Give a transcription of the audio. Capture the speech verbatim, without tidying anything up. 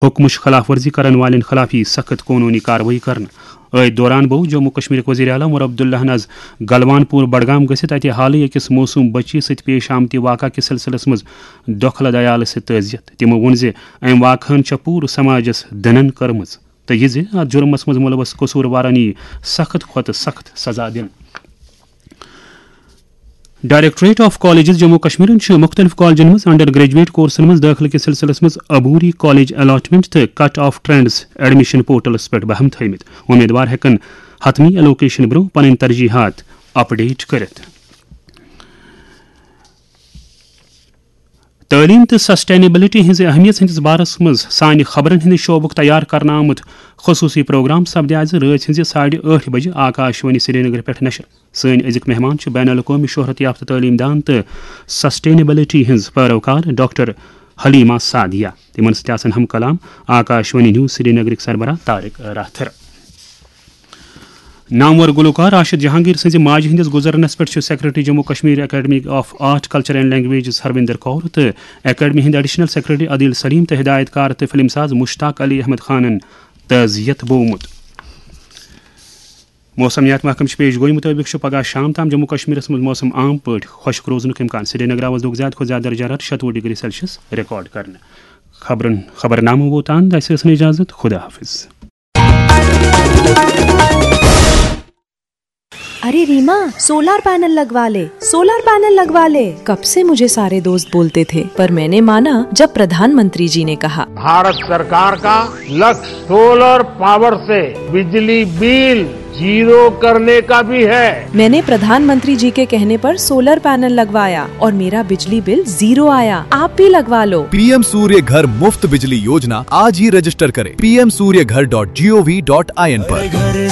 حکمٕچ خلاف ورزی کرن والٮ۪ن خلاف یی سخت قونوٗنی کاروٲیی کرنہٕ۔ أتھۍ دوران بوو جموں کشمیرٕکۍ وزیر اعلیٰ عمر عبداللہن از گلوان پور بڈگام گٔژھِتھ اتہِ حالٕے أکِس موسوم بچی سۭتۍ پیش آمتہِ واقعہٕ کِس سلسلس منٛز دۄکھلہٕ عیالس سۭتۍ تعزیت۔ تِمو ووٚن زِ امہِ واقعہن چھےٚ پوٗرٕ سماجس دٕنن کٔرمٕژ تہٕ یہِ زِ اتھ جُرمس منٛز مُلوث قصوٗروارن یی سخت کھۄتہٕ سخت سزا دِنہٕ۔ ڈائریکٹوریٹ آف کالجز جموں کشمیرن چھُ مُختٔلِف کالجن منٛز انڈر گریجویٹ کورسن منٛز دٲخلہٕ کِس سلسلس منٛز عبوری کالج الاٹمنٹ تہٕ کٹ آف ٹرینڈز ایڈمیشن پورٹلس پٮ۪ٹھ بہم تھٲومٕتۍ۔ امیدوار ہٮ۪کن حتمی ایلوکیشن برٛونٛہہ پنٕنۍ ترجیحات اپڈیٹ کٔرِتھ۔ تعلیم تہٕ سسٹینیبلٹی ہٕنٛزِ اہمیت ہٕنٛدِس بارس منٛز سانہِ خبرن ہٕنٛدِ شعبُک تیار کرنہٕ آمُت خصوٗصی پروگرام سپدِ آز رٲژ ہٕنٛزِ ساڑِ ٲٹھِ بجہِ آکاش وانی سرینگر پٮ۪ٹھ نشر۔ سٲنۍ أزِکۍ مہمان چھِ بین الاقوٲمی شہرت یافتہٕ تعلیٖم دان تہٕ سسٹینیبلٹی ہٕنٛز پیروکار ڈاکٹر حلیمہ سعدیہ۔ تِمن سۭتۍ آسن ہم کلام آکاش وانی نیوز سرینگرٕکۍ سربراہ طارق راتھر۔ نامور گلوکار راشد جہانگیر سٕنٛزِ ماجہِ ہٕنٛدِس گُزرنس پٮ۪ٹھ چھُ secretary Jammu Kashmir academy of art, culture and languages Harvinder کور تہٕ اکیڈمی ہٕنٛدۍ ایڈیشنل سیکرٹری عادل سلیم تہٕ ہدایت کار تہٕ فلم ساز مشتاق علی احمد خانن تعزیت بوومُت۔ موسمیات محکمہٕ چھِ پیش گویی مُطٲبِق چھُ پگہہ شام تام جموں کشمیرس منٛز موسم عام پٲٹھۍ خۄشک روزنُک امکان۔ سرینگرس دِیُت زیادٕ کھۄتہٕ زیادٕ درجہ حرارت شتوُہ ڈگری سیلسیس ریکارڈ کرنہٕ۔ خبرن خبرنامہٕ ووت تام، اسہِ ٲس نہٕ اجازت۔ خدا حافظ۔ अरे रीमा, सोलर पैनल लगवा ले। सोलर पैनल लगवा ले। कब से मुझे सारे दोस्त बोलते थे, पर मैंने माना जब प्रधानमंत्री जी ने कहा। भारत सरकार का लक्ष्य सोलर पावर से बिजली बिल जीरो करने का भी है। मैंने प्रधानमंत्री जी के कहने पर सोलर पैनल लगवाया और मेरा बिजली बिल जीरो आया। आप भी लगवा लो। पीएम सूर्य घर मुफ्त बिजली योजना, आज ही रजिस्टर करें पीएम सूर्य घर डॉट जीओवी डॉट आईएन पर।